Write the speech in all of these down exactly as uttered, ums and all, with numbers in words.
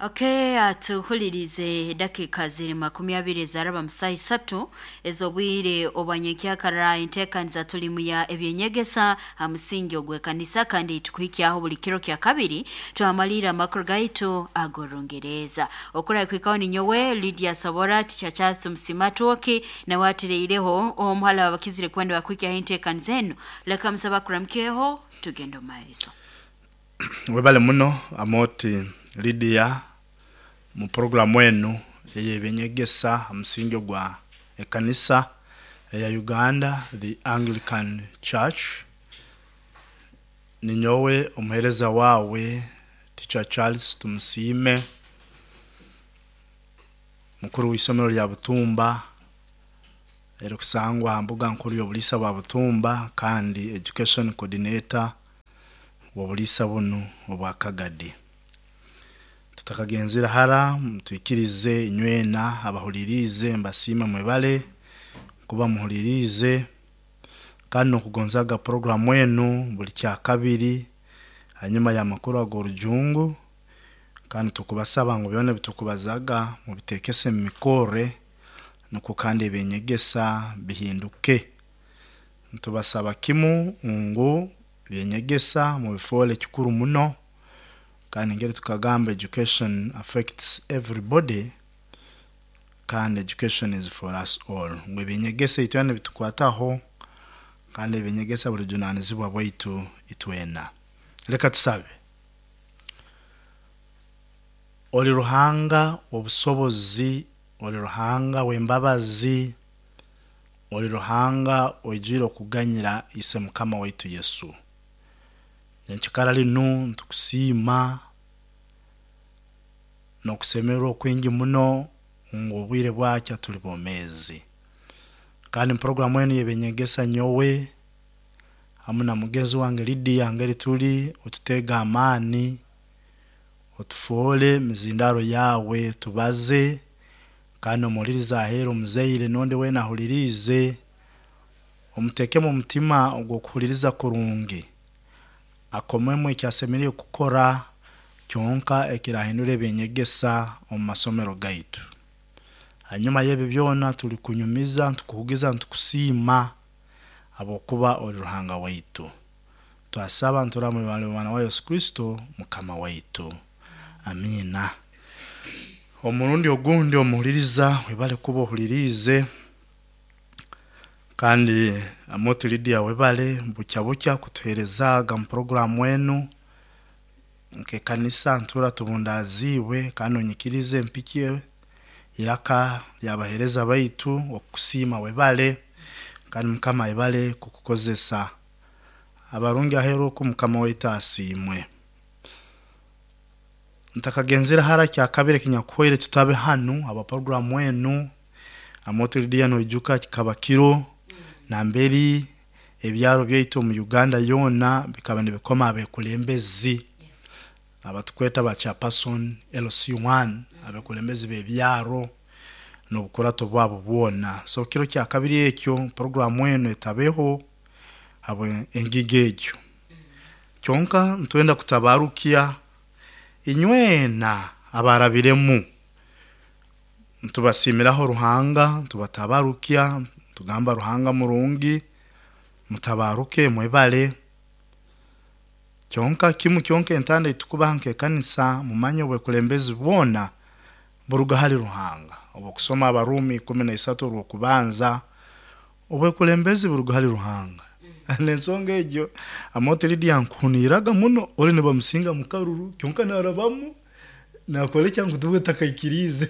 Okay, atuhulirize dakika ziri makumi abiri ezaraba musaha isatu ez'obwire obwanyenkyakara. Enteekaniza tulimu ya ebyenyegesa ha musingi ogw'ekanisa, kandi tukuhikyaho buli kiro kya kabiri twamalira amakuru gaitu ag'Orungereza. Okurakwikaho ninyowe Lydia Sobora, Teacher Charles Tumusimatwoki nawe atireireho omuhala wabakizire kwenda bakuhikyaho enteekaniza enu. Leka musaba kuramukyeho tugenda omu maiso. Webale muno Amoti Lydia mu programu enu ey'ebyenyegesa ha musingi gwa ekanisa eya Uganda, the Anglican Church. Ninyowe omuheereza wawe Teacher Charles Tumusiime, mukuru w'isomero lya Butumba erikusangwa ha mbuga nkuru y'obuliisa bwa Butumba, kandi education coordinator w'obuliisa bunu obwa Kagadi. Tutakagenzere hara, twikirize inywena abahuliriize mbasiime, mwebale kuba muhuliriize kandi n'okugonzaga programu enu buli kyakabiri hanyuma y'amakuru ag'orujungu, kandi tukubasaba ngu byona ebitukubazaga mubitekese mu mikorre nukwo kandi ebyenyegesa bihinduke. Ntubasaba kimu ngu ebyenyegesa mubifoole kikuru muno, kandi ngeri tukagamba education affects everybody kandi education is for us all, ngu ebyenyegesa itwena nibitukwataho kandi ebyenyegesa buli bujunanizibwa bwaitu itwena. Leka tusabe. Oli Ruhanga w'obusobozi, oli Ruhanga w'embabazi, oli Ruhanga oijwire okuganyira ise Mukama waitu Yesu. Nyenkikara linu ntukusiima n'okusemererwa okwingi muno ngu obwire bwakya tuli bomeezi. Kandi mu programu enu y'ebyenyegesa nyowe hamu na mugenzi wange Lydia ngeri tuli, otuteege amaani, otufoole mizindaro yawe tubaze, kandi omuhuliriza aheeru omuzaire n'ondi weena ahuliriize omuteekemu omutima ogw'okuhuliriza kurungi, akomemu eki asemeriire kukora kyonka ekirahindura ebyenyegesa omu masomero gaitu. Hanyuma y'ebi byona tulikunyumiza, ntukuhugiza, ntukusiima habwokuba oli Ruhanga waitu. Twasaba nturaba mwana wa Yesu Kristo Mukama waitu. Amiina. Omurundi ogundi omuhuliriza webale kuba ohuliriize, kandi Amoti Lydia webale bukya bukya kutuheerezaaga mu programu enu. Nk'ekanisa ntuura tubundaaziibwe kandi onyikirize mpikye iraka ly'abaheereza baitu okukusiima, webale, kandi Mukama ayebale kukukozesa. Abarungi aheeru oku Mukama waitu asiimwe. Ntakagenzere hara, kyakabiri ekinyakuhwaire tutabe hanu aba programu enu, Amoti Lydia noijuka kikaba kiro namberi ebyaro byaitu omu Uganda yoona bikaba nibikoma abekulembezi abatukweta ba chairperson L C one, abekulembezi b'ebyaro n'obukurato bwabo bwona. So kiro kyakabiri ekyo programu enu etabeho habwe engiga egyo. Kyonka ntwenda kutabarukya inywena abarabiremu, ntubasiimiraho Ruhanga, ntubatabarukya, tugamba Ruhanga murungi, mutabaruke mwebale. Kyonka kimu kyonka entanda eitukubaha nk'ekanisa, mumanye obwekulembezi bwona buruga hali Ruhanga. Obwokusoma Abarumi ikumi na isatu orw'okubanza, obwekulembezi buruga hali Ruhanga. N'ensonga egyo Amoti Lydia nkuhuniiraga muno, oli nibamusinga mukaruru kyonka narabamu nakora ekyangu tuwe takaikiriize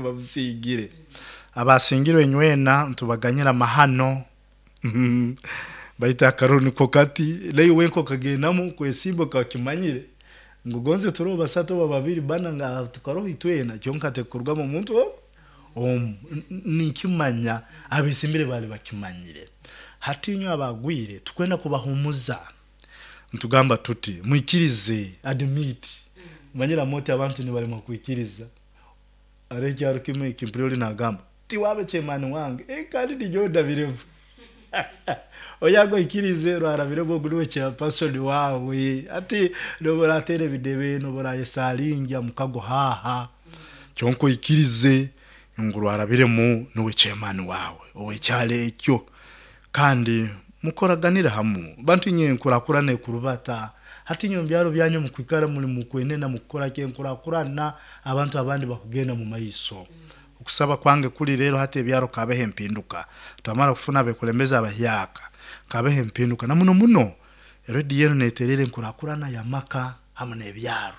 bamusingire. Abasingirwe inywena ntubaganyira amahano baitu akaruru niko kati naiwe wenka okagendamu kwesimba okakimanyire ngu gonze turoho basatu oba babiri bana nga tukaroho itwena, kyonka tekurugamu omuntu omu. Ninkimanya abesimbire bali bakimanyire. Hati inywe abagwire tukwenda kubahumuza, ntugamba tuti mwikirize, admit. Manyira Amoti abantu nibalema kwikiriza. Hariho ekyaro kimu ekimpurira oli nagamba tiwabe chairman wange, e, kandi ninyowe ndabirevu. Oyago ikirize rwarabiremu ogu niwe chairperson wawe. Ati noboratere ebidebe, noborayesalinja mukago haha, kyonka oikirize ngu rwarabiremu niwe chairman wawe owekyalo ekyo, kandi mukoraganire hamu. Bantu inye nkurakurana ekurubata hati nyo mubyaro byanyu mukwikara muli mukwenena mukukora ki enkurakurana, abantu abandi bakugenda mu maiso. Okusaba kwange kuli rero hati ebyaro kabeho empinduka, twamara kufuna abekulembeze abahyaka kabeho empinduka, na muno muno rediyo enu neterera enkurakurana y'amaka hamu n'ebyaro.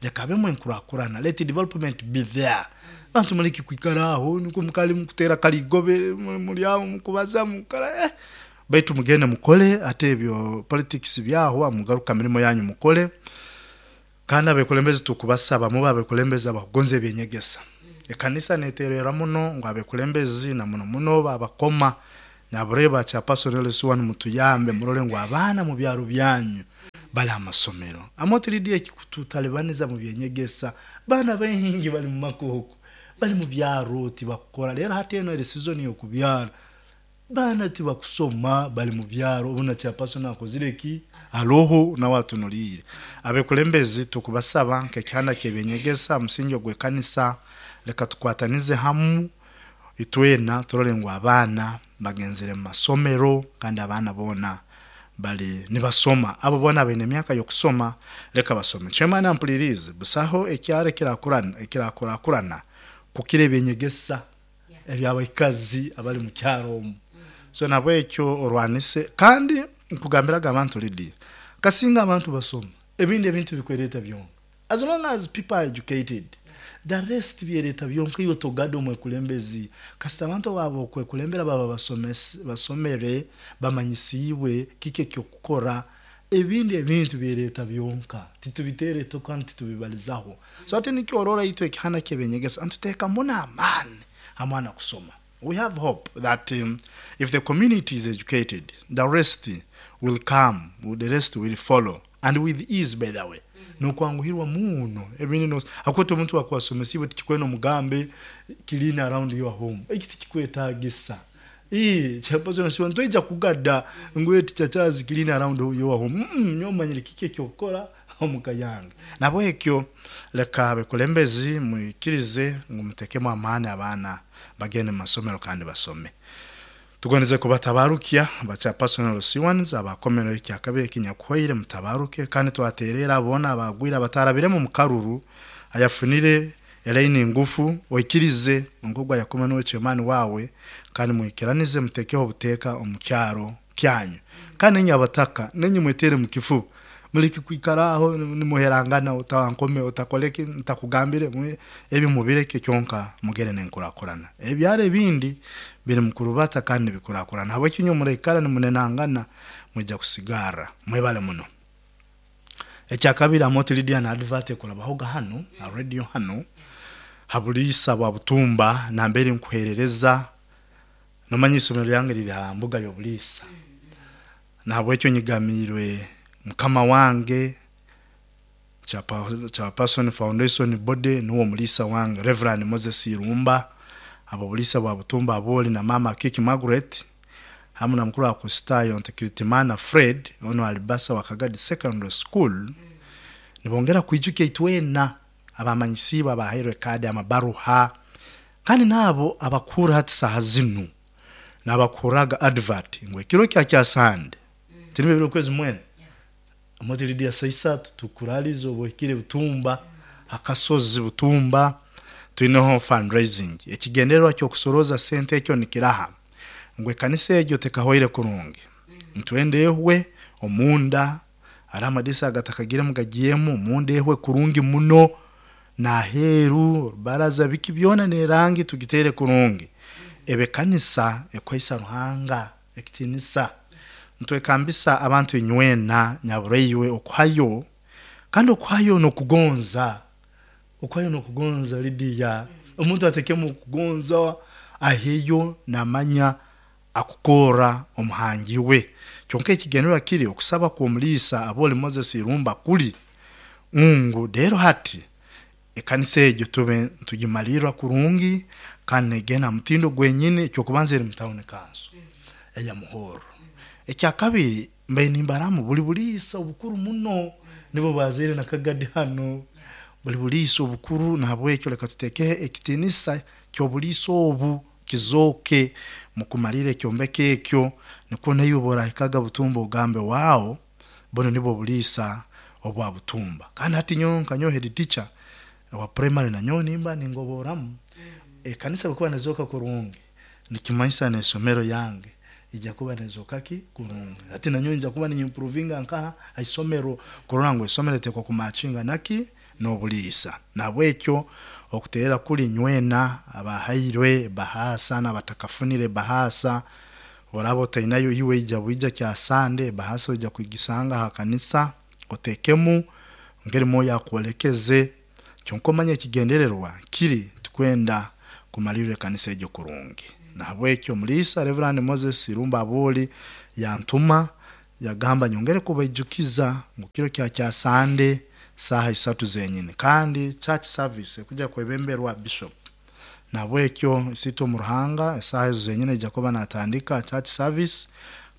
Leka habemu enkurakurana, let development be there. Bantu muleke kwikara aho nukwo mukali mukutera kaligobe, muli aho mukubaza mukora eh. Baitu mugende mukole, ate ebyo politics byahwa, mugaruka mirimo yanyu mukole. Kandi abekulembeze tukubasaba mube abekulembeze abakugonza ebyenyegesa. Ekanisa neterera muno ngu abekulembezi na muno muno babakoma nyabureba chairperson L C one mutuyambe murole ngu abaana mu byaro byanyu bali amasomero. Amotiridi ekikututalibaniza mu byenyegesa, baana baingi bali mu makoko, bali mu byaro tibakukora. Rero hati eno eri season y'okubyara, baana tibakusoma bali mu byaro. Obuna chairperson akozire ki aloho nawe atunulire. Abekulembezi tukubasaba nk'ekyanda ky'ebyenyegesa musingi ogw'ekanisa, leka tukwatanize hamu itwena turole ngu abaana bagenzere mu masomero, kandi abaana boona bali nibasoma. Abo boona baine emyaka y'okusoma, leka basome. Chairman ampulirize, busaho ekyaro ekirakurana, ekirakurakurana kukira ebyenyegesa ebyabaikazi abali mu kyaro omu. So nabwekyo orwanise, kandi nkugambiraga abantu Lydia, kasinga abantu basoma ebindi ebintu bikwereta byonka. As long as people are educated, the rest byereta byonka. Iwe togada omwekulembezi, kasita abantu babo okwekulembera baba basomese, basomere, bamanyisiibwe kiki ekyokukora, ebindi ebintu byereta byonka, titubiteere kandi titubibalizaho. So ate nikyo orora itwe ekihanda ky'ebyenyegesa ntuteeka muno amaani amwana kusoma. We have hope that, um, if the community is educated, the rest will come, the rest will follow, and with ease, by the way. Nokwanguhirwa muno ebindi no akwete omuntu akwasomesibwe tikikwena omugambe clean around your home, eki tikikwetagisa. Ii chairperson siwa ntoija kugada ngwe tichachazi clean around your home. Mm, nyomanyire kiki ekyokukora omuka yange. Nabwekyo leka abekulembezi mwikirize ngu mutekemu amaani abaana bagende mu masomero kandi basome. Tugondeze kubatabarukia ba chairperson L C ones abakomero ekyakabe ekinyakuhwaire mutabaruke, kandi twaterera abona abagwira batarabiremu mu karuru ayafunire elaini ngufu, oikirize ngogwa yakoma n'owe chairman wawe, kandi mwikiranize mutekeho obuteeka omu kyaro kyanyu. Kandi nenye abataka nenye mwetere mu kifuba, muleke kwikara aho nimuherangana, utawankome utakoleke ntakugambire mwe ebi mubireke kyonka mugere nenkurakurana. Ebyaro ebindi biri mukurubata kandi bikurakurana. Habweki nyo murekara nimunenangana mwija kusigara mwebale muno. Ekyakabiri Amooti Lydia na advert ekurabahoga hano na radio hano habulisa bwa butumba nambere nkuherereza nomanya isomero lyange riri ha mbuga y'obulisa. Nahabwekyo nyigamirwe mukama wange Chairperson Foundation Body nuwo mulisa wange Reverend Moses Irumba, abo bulisa bwa butumba aboli na mama Kiki Margaret hamu na mukuru wa Kristayo Ntekiritimana Fred ono alibasa wa Kagadi Secondary School. Nibongera kwijukia itwena abamanyisiba abahairwe kadi amabaruha, kandi nabo abakura hati saha zinu nabakuraga advert ngwe kiro kya kya Sunday tinime biro kwezi mwene Amooti Lydia saisatu tukuralizo obwekire butumba akasozi butumba tuineho fundraising ekigendererwa kyo kusoroza sente ekyo nikiraha ngwe kanisa egyo tekahoire kurungi ntwende ehwe omunda ari amadisa agatakagire mugagiyemu omunda ehwe kurungi muno naheru baraza biki byona nerangi tugitere kurungi ebe kanisa ekwaisa Ruhanga ekitinisa ntwekambisa abantu inywena nyabureiwe okuhayo kandi okuhayo nokugonza okuhayo nokugonza Lydia omuntu atekemu kugonza aheyo namanya akukora omuhangi we kyonka ekigendererwa kiri okusaba kw'omulisa aboli Moses Irumba kuli ngu rero hati ekanisa egyo tube tugimalirwa kurungi kandi negenda mutindo gwenyine ekyokubanza eri mu town council. Eyamuhoro ekyakabiri mbaire nimbaramu buli buliisa obukuru muno nibo bazaire na Kagadi hano buli buliisa obukuru. Nahabwekyo leka tutekeho ekitinisa ky'obuliisa obu kizooke mukumalira ekyombeko ekyo, nikwo naiwe bworahikaga Butumba ogambe waawo bunu nibwo buliisa obwa Butumba. Kandi hati nyowe nka nyowe head teacher wa primary nanyowe nimba ningoboramu ekanisa bwekuba nezooka kurungi nikimanyisa n'esomero yange ijja kuba nezooka ki kurungi. Hati nanyowe nja kuba ninyimprovinga nkaha haisomero kurora ngu esomero etekwa kumatchinga naki n'obuliisa. Nahabwekyo okuteera kuli nywena abahairwe bahasa n'abatakafunire bahasa, oraba otainayo iwe ija bwija kya Sande bahasa oija kugisanga ha kanisa otekemu ngeri Mwoyo akwolekeze. Kyonka omanye ekigendererwa kiri tukwenda kumalirra ekanisa egyo kurungi. Nahabwekyo omuliisa Reverend Moses Irumba Abuli yantuma yagamba nyongere kubaijukiza ngu kiro kya kya Sande saaha isatu zenyini, kandi church service ekuja kwebemberwa bishop. Nahabwekyo isiitwe omu Ruhanga esaaha ezo zenyini aija kuba natandika church service,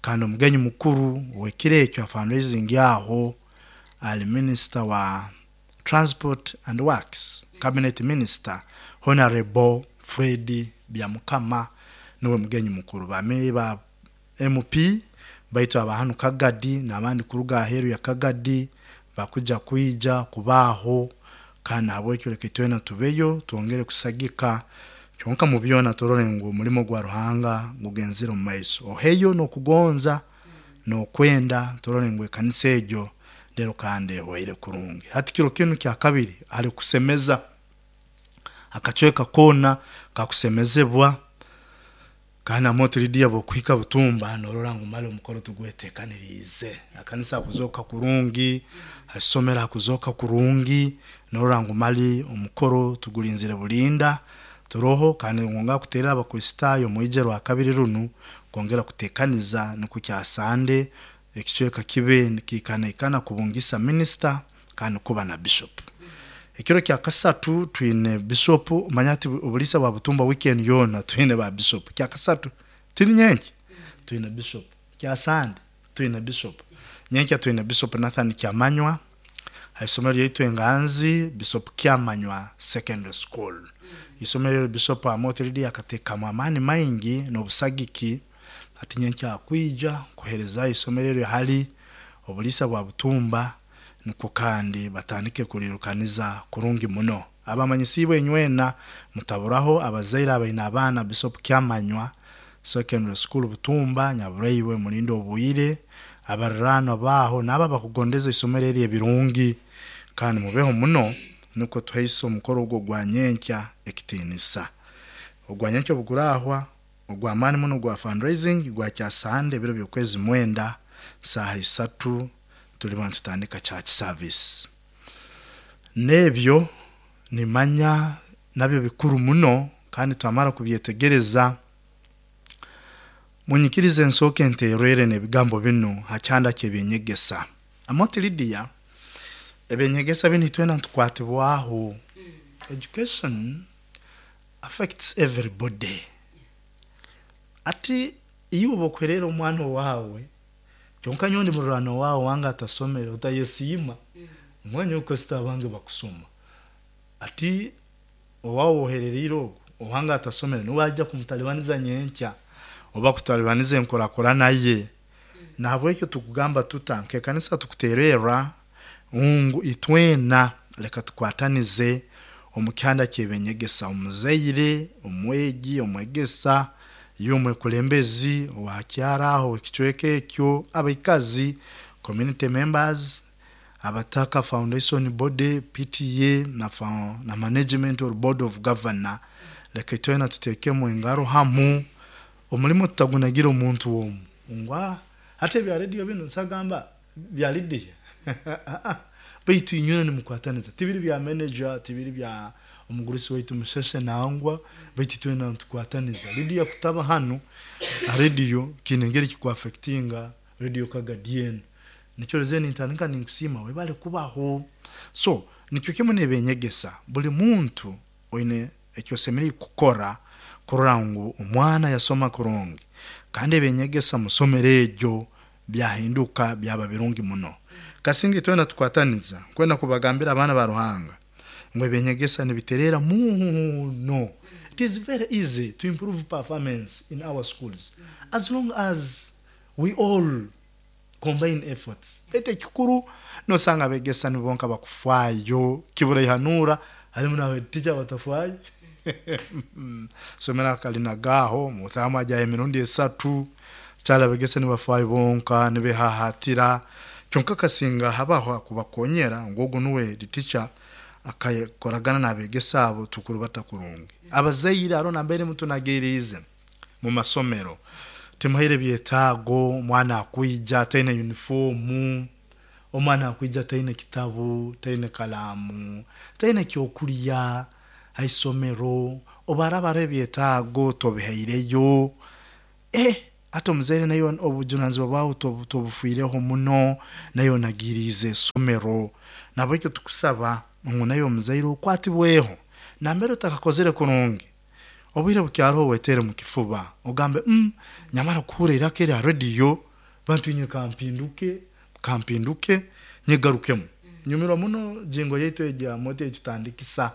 kandi omugenyi mukuru w'ekiro ekyo fundraising aho ali minister wa transport and works, cabinet minister Honorable Fred Byamukama niwe mugenyi mukuru. Bame ba M P baitu abahanu Kagadi n'abandi kuruga aheeru ya Kagadi bakuja kwija kubaho, kandi nahabwekyo leka itwena tubeyo twongere kusagika kyonka mu byona turole ngu omulimo gwa Ruhanga gugenzire omu maiso. Oheyo n'okugonza n'okwenda turole ngu ekanisa egyo lero kandi ehwaire kurungi. Hati kiro kinu kya kabiri ali kusemeza akacweka koona kakusemezebwa, kandi amoto Lidia bwokuhika Butumba norora ngu mali omukoro tugwetekaniriize, akanisa akuzoka kurungi, asomera akuzoka kurungi, norora ngu mali omukoro tugulinzire bulinda turoho. Kandi ngonga kuterera Abakristaayo mwije rwa kabiri runu kwongera kutekaniza nukwo kya Sande ekicweka kibe nikikanaikana kubungisa minister kandi kuba na bishop. Ekiro kya kasatu twine bishop, manya ati obulisa bwa Butumba weekend yona twine ba bishop. Kya kasatu tiri nyenki twine bishop, kya Sande twine bishop, nyenki twine Bishop Nathan Kyamanywa haisomero lyaitu Enganzi, Bishop Kyamanywa Secondary School. Isomero Bishop Amote Lidia akatekamu amaani maingi n'obusagiki ati nyenki akwija kuhereza isomero eryo hali obulisa bwa Butumba, nukwo kandi batandike kulirukaniza kurungi muno. Abamanyisibwe nywena mutaburaho abazaire abaina abaana Bishop Kyamanywa Secondary School Butumba nyaburaiwe mulinde obwire abarurano baho naba bakugondeza isomero eri ebirungi, kandi mubeho muno nukwo tuhaise omukoro ogwo gwa nyenkya ekitinisa. Ogwa nyenkya obugurahwa ogwa maani muno gwa fundraising gwa kya Sande ebiro by'okwezi mwenda saaha isatu tuliba tutandika church service. Nebyo nimanya nabyo bikuru muno kandi twamara kubyetegereza. Munyikirize ensooke nterere n'ebigambo binu hakyanda ky'ebyenyegesa. Amote Lidia ebyenyegesa binu itwena ntukwatibwaho. Education affects everybody. Ati iyo obokwerera omwana wawe kyonka nyondi mururano wawe wanga atasomere utayesiima omwanya okosita abange bakusoma. Ati owawe ohererire ogwo owanga atasomere niwajja kumutalibaniza nyenkya oba kutalibaniza enkorakora naye. Nahabwekyo tukugamba tuta nk'ekanisa tukutererra ngu itwena leka tukwatanize omu kyanda ky'ebyenyegesa, omuzaire, omwegi, omwegesa, y'omwekulembezi owakyaraho ekicweka ekyo, abaikazi, community members, abataka foundation body, P T A na, na management or board of governor. Leka itwena tutekemu engaro hamu omulimu tutagunagira omuntu omu ngwa hata ebya radio bino nsagamba bya Lidia baitu inywe nimukwataniza tibiri bya manager tibiri bya omugurusi waitu musheshe nangwa baitu twena ntukwataniza. Lidia kutaba hano radio kinengeri kikuaffectinga radio Kagadien nikyo reze nintandika ninkusima webale kubaho. So nikyo kimwe nebenyegesa buli muntu oine ekyo semereri kukora kurora ngu omwana yasoma kurungi. Kandi ebinyegesa musomero eryo byahinduka byaba birungi muno. Kasinga itwena tukwataniza kwenda kubagambira abaana ba Ruhanga ngo ebinyegesa nibiterera muno. It is very easy to improve performance in our schools as long as we all combine efforts. Ete kikuru nosanga abegesa nibonka bakufaayo kibura ihanura harimu n'abateacher batafaayo. Somera kalina gaho mutama aja emirundi esatu kyala abegesa nibafaayo bonka nibehahatira. Kyonka kasinga habaho akubakonyera ngogo nuwe teacher akakoragana n'abegesa abo tukurubata kurungi. Abazaire aro nambere mutunagirize mu masomero timuhaire byetaago, omwana akwija taine uniformu, omwana akwija taine kitabu, taine kalamu, taine kyokulya haisomero, obarabara ebyetaago tobihaireyo. Eh, ate omuzaire nayo obujunanizibwa bwawe tobufiireho muno, nayo nagirize esomero. Nabwekyo tukusaba ngu nayo omuzaire okwatibweho nambere otakakozere kurungi obwire bukyariho wetere mu kifuba ogambe mm, nyamara kuhura iraka erya rediyo bantu inye kampinduke kampinduke nyegarukemu. Nyumirwa muno jingo yaitu egya moto ekitandikisa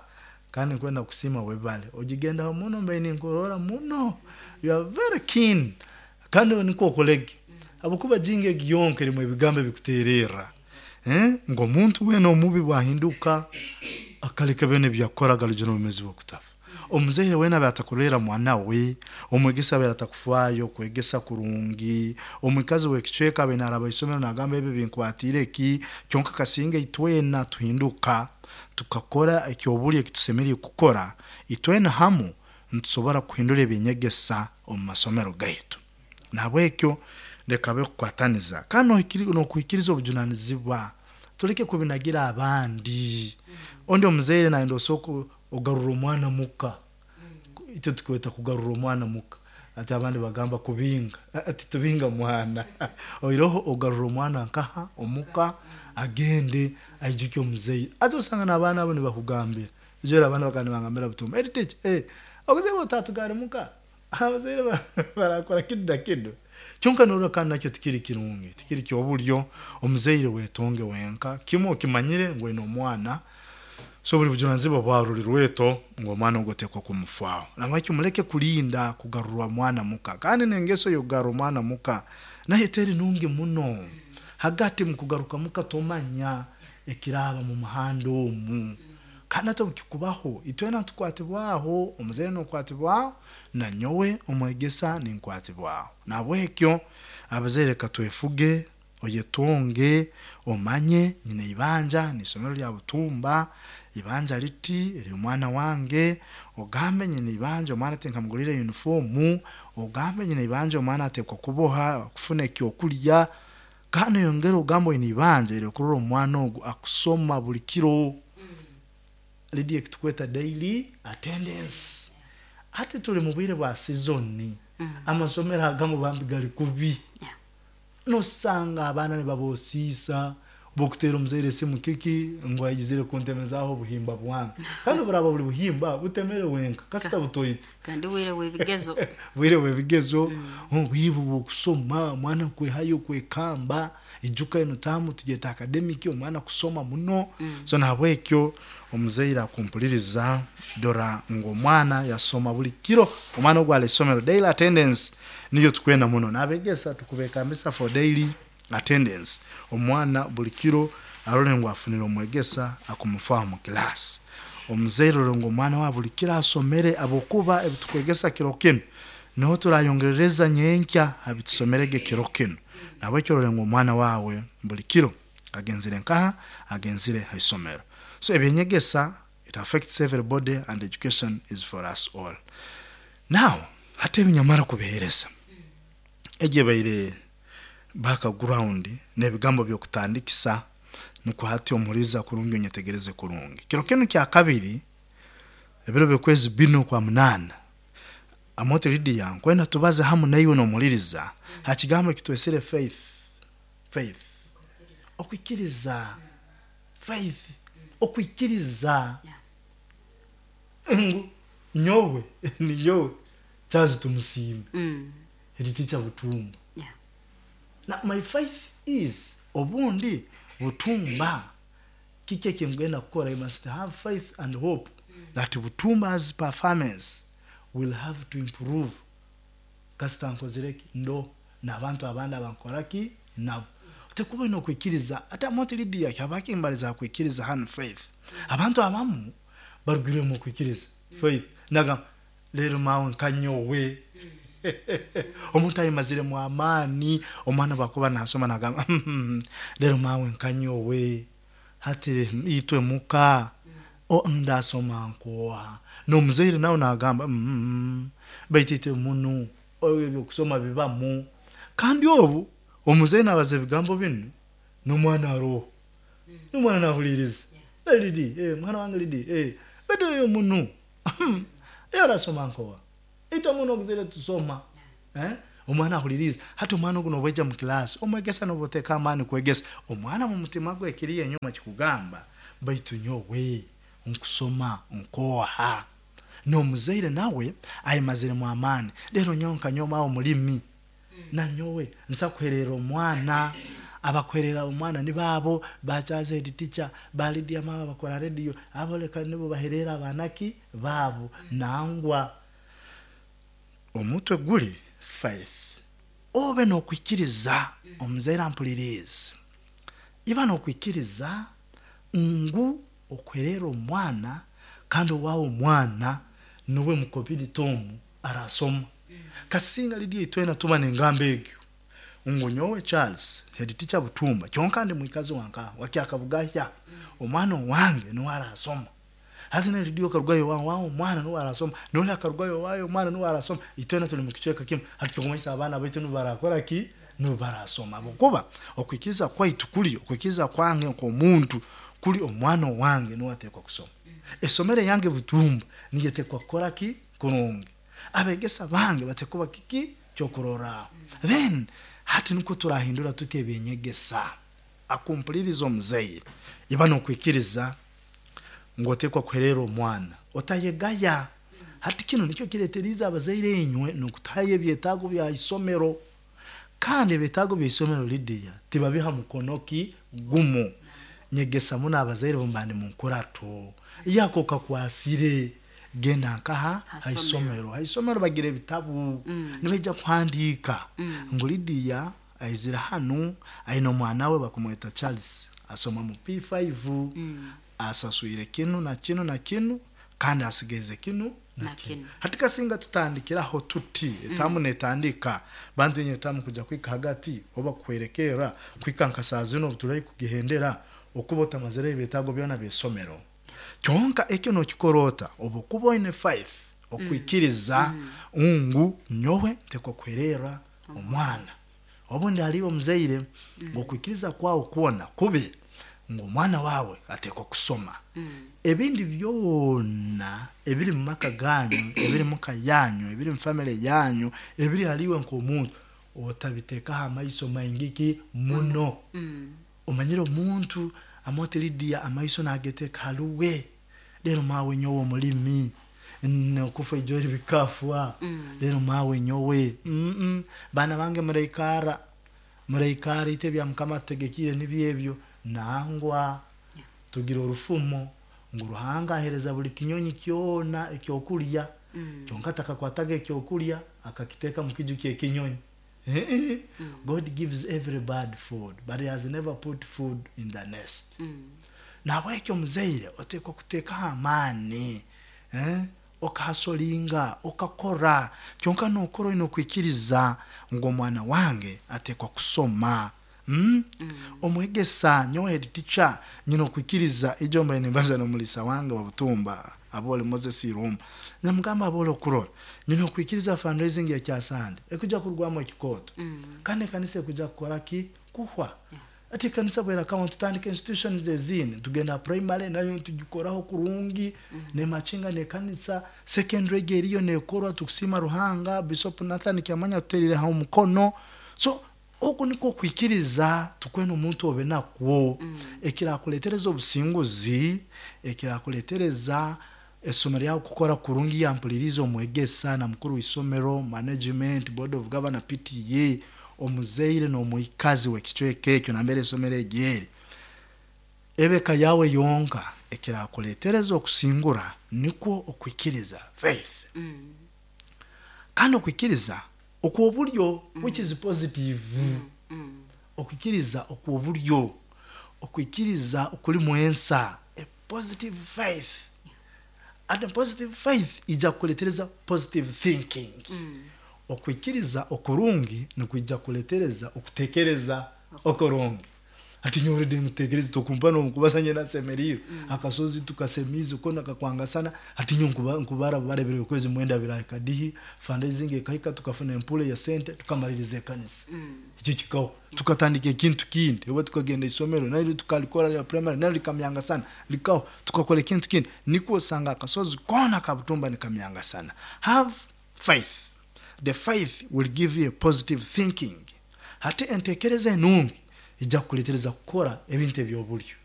kandi nkwenda kusima webale ogigendaho muno mbe ninkurora muno, you are very keen kandi niko okolege abukuba jingo egi yonka erimu ebigambo ebikuterera eh ngo omuntu wena omubi bwahinduka akaleka bene byakoraga rugero bumezi bwokutafa. Omuzaire wena batakurera mwana we, omwegesa abe atakufaayo kwegesa kurungi, omukazi wekicweka abe naraba isomero nagamba ebi binkwatire ki, kyonka kasinga itwena tuhinduka tukakora ekyobuli ekitusemerire kukora itwena hamu nitusobora kuhindura ebinyegesa omu masomero gaitu. Nabwekyo leka be kukwataniza kandi nokuhikiriza obujunanizibwa, tuleke kubinagira abandi. Ondi omuzaire naenda osoko ogarura omwana muka, ito tukweta kugarura omwana muka, ati abandi bagamba kubinga, ati tubinga mwana oiroho ogarura omwana nkaha omuka agende aijuke omuzaire. Ati osanga n'abaana abo nibakugambira ejora abaana bakandi bangambira butumba eri teacher eh obuzaire otatugare muka abazaire barakora kidu na kidu. Kyonka norora kandi nakyo tikiri kirungi, tikiri kyobulyo. Omuzaire wetonge wenka kimwe okimanyire ngu oine omwana, so buli bujunanizibwa bwaruri rweto ngo omwana ogotekwa kumufaaho. Nabwekyo muleke kulinda kugarurwa mwana muka, kandi n'engeso y'okugarura omwana muka nayo teri nungi muno. Hagati mukugaruka muka tomanya ekiraba mu muhanda omu, kandi ate bukikubaho itwena tukwatibwaho, omuzaire nokwatibwaho na nyowe omwegesa ninkwatibwaho. Nabwekyo abazaire katwefuge, oyetonge, omanye nyine ibanja nisomero lya butumba ibanja liti eri omwana wange, ogambe nyine ibanja omwana ate nkamugulira uniformu, ogambe nyine ibanja omwana atekwa kuboha kufuna ekyokulya, kandi yongera ogambe oyine ibanja eri okurora omwana ogu akusoma buli kiro. Lidia ekitukweta daily attendance. Ate tuli mu bwire bwa season, amasomero agamu bambi gali kubi. Nosanga abaana nibabosiisa bokutera omuzaire esimu kiki ngu ayizire kuntemezaho obuhimba bwange, kandi buraba buli buhimba butemere wenka kasita butoito kandi bwire bw'ebigezo bwire bw'ebigezo bwire bw'okusoma omwana kwehayo kwekamba ijuka eno tamu tugeta academic omwana kusoma muno. So nahabwekyo omuzaire akumpuliriza dora ngu omwana yasoma buli kiro, omwana ogwo ali isomero daily attendance niyo tukwenda muno. Nabegesa tukubekambisa for daily attendance, omwana buli kiro arole ngu afunire omwegesa akumufaaho mu class. Omuzaire orole ngu omwana wa buli kiro asomere, abokuba ebitukwegesa kiro kinu niho turayongerereza nyenkya abitusomerege kiro kinu. Nabwekyo orole ngu omwana wawe buli kiro agenzire nkaha agenzire haisomero. So ebyenyegesa it affects everybody and education is for us all. Now hati ebinyamara kubihereza egye baire background n'ebigambo by'okutandikisa nukwo hati omuhuriza kurungi onyetegereze kurungi. Kiro kinu kya kabiri ebiro by'okwezi bino kwa munana Amote Lydia nkwenda tubaze hamu naiwe n'omuhuririza ha kigambo ekitwesire faith. Faith okwikiriza, faith okwikiriza ngu nyowe ni nyowe kyazi tumusiime. Mm. Head teacher Butumba. Yeah. Na my faith is obundi Butumba kiki ekingenda kukora, you must have faith and hope that Butumba's performance will have to improve kasita nkozireki ndo n'abantu abandi abankoraki nabo tekuba ino kwikiriza. Ate moti Lydia kyabakimbaliza kwikiriza hano faith, abantu abamu barugire mu kwikiriza faith naga lero mawe nkanyowe omuntu ayimazire mu amaani, omwana bakuba nasoma nagamba lero mawe nkanyowe hati itwe muka o ndasoma nkoa n'omuzaire nawe nagamba mm, baitu itwe munu ebyo kusoma bibamu. Kandi obu omuzaire nabaza ebigambo binu n'omwana aroho n'omwana nahuliriza yeah. Lidi eh, mwana wange Lidi eh, baitu oyo munu arasoma nkoa itwe muno okuzire tusoma eh? Omwana ahuliriza. Hati omwana ogu nobweja mu kilasi omwegesa noboteka amaani kwegesa omwana mu mutima gwe ekiriyo enyuma kikugamba baitu nyowe nkusoma nkoha n'omuzaire nawe ayimaziremu amaani. Lero nyowe nkanyoma omulimi nanyowe nsa kuherera omwana, abakuherera omwana ni baabo bachaza head teacher ba Lydia mama bakora radio abo leka nibo baherera abanaki baabo nangwa omutwe guli faith obe nokwikiriza omuzaire ampulirize iba nokwikiriza ngu okwerera omwana kandi owawe omwana nuwe mukobiri tomu arasoma. Kasinga Lydia itwena tuba nengamba egyo ngu nyowe Charles head teacher Butumba kyonka ndi mwikazi wanka wakyakabugahya omwana wange nuwe arasoma. Hati na Lydia karugayo wa wa omwana nuwe arasoma nole akarugayo wayo omwana nuwe arasoma itwena tuli mukichweka kimu hati tukumanyisa abaana baitu nuwe barakora ki nuwe barasoma. Kuba okwikiriza kwaitu kuli okwikiriza kwange nk'omuntu kuli omwana wange nuwe atekwa kusoma. Esomere yange Butumba niye tekwa kukora ki kurungi abegesa bange batekuba kiki kyokurora. Then hati nuko turahindura tuti ebinyegesa akumpuliriza omuzaire iba nokwikiriza ngotekwa kuherera omwana otayegaya. Hati kino nikyo kireteriza abazaire enywe nokutaye ebyetaago bya isomero kandi ebyetaago bya isomero Lydia tibabiha mukonoki gumu nyegesa muna abazaire bombani munkurato yako kakwasire genda nkaha haisomero haisomero bagira ebitabu mm. nibeja kuhandika mm. ngo Lydia aizira hanu aina omwana we bakumweta Charles asoma mu P five mm. asasuire kinu na kinu na kinu kandi asigeze kinu na kinu. Hati kasinga tutandikiraho tuti etamu mm. netandika bantu yenye tamu kuja kwika hagati oba kwerekera kwika nka zino tulayi kugihendera okuba tamazere ebitago byona byesomero kyonka ekyo nokikorota obukuba oine five okwikiriza mm. ungu nyowe ntekwa kwerera omwana obundi aliwo muzaire mm. okwikiriza kwawo kuona kube ngo omwana wawe atekwa kusoma mm. ebindi byona ebiri mu maka ganyu ebiri mu kayanyu ebiri mu family yanyu ebiri haliwe nk'omuntu otabiteka amaiso maingiki muno mm. omanyire omuntu amote Lydia amaiso nageteka haluwe lero mawe nyowe omulimi nokufa ijori bikafwa mm. lero mawe nyowe mm -mm. bana bange muraikara muraikara ite bya mukama tegekire nibyebyo nangwa yeah. Tugira orufumo ngo Ruhanga ahereza buli kinyonyi kyona ekyokulya mm. kyonka takakwataga ekyokulya akakiteka mu kiju kye kinyonyi. Mm. God gives every bird food but he has never put food in the nest. Mm. Nabwekyo muzaire otekwa kuteka amaani eh okahasolinga okakora kyonka nokora ino kwikiriza ngo omwana wange atekwa kusoma. Mm? Mm. Omwegesa nyowe head teacher nyino kwikiriza ijomba nimbaza no mulisa wange wa Butumba abole Moses Irumba namugamba abole okurora nyino kwikiriza fundraising ya kyasande ekuja kurwamo ekikoto mm. kandi kanisa ekuja kukora ki kuhwa yeah. Ati kanisa bwera account tutandika institutions ezini tugenda primary nayo tugikoraho kurungi mm. ne machinga ne kanisa secondary geriyo nekorwa tukusima Ruhanga Bishop Nathan Kyamanya tuterire ha omukono. So oku niko kwikiriza tukwena omuntu obe nakwo mm. ekirakuletereza obusinguzi ekirakuletereza Esomero lyawe kukora kurungi, yampuliriza omwegesa na mukuru w'isomero, management, board of governor, P T A, omuzaire n'omwikazi w'ekicweka ekyo nambere esomero egyeri, ebeka yawe yonka ekirakuletereza okusingura nikwo okwikiriza, faith. Mm. Kandi okwikiriza okw'oburyo, which is positive. Mm. Okwikiriza okw'oburyo, okwikiriza okulimu ensa, a positive faith. And a positive faith ija kukuletereza positive thinking. Mm. Okwikiriza okurungi nikwija kuletereza okutekereza okurungi. Ati nyorede ngutekereza tokumpa nomukubasa nye nasemerire akasozi tukasemize kona kakwangasana. Ati nyo nkuba nkubara barebere okwezi mwenda birayi kadihi fundraising ekahika, tukafuna empule ya sente, tukamaliriza ekanisa. Mm. Ekyo kikaho, tukatandika ekintu kindi, oba tukagenda isomero nayo tukalikora lya primary nayo likamyangasana, likaho tukakora ekintu kindi, nikwo osanga akasozi kona kabutumba nikamyangasana. Have faith. The faith will give you a positive thinking. Hati entekereza enungi ijja kukuletereza kukora ebintu ebyobulyo.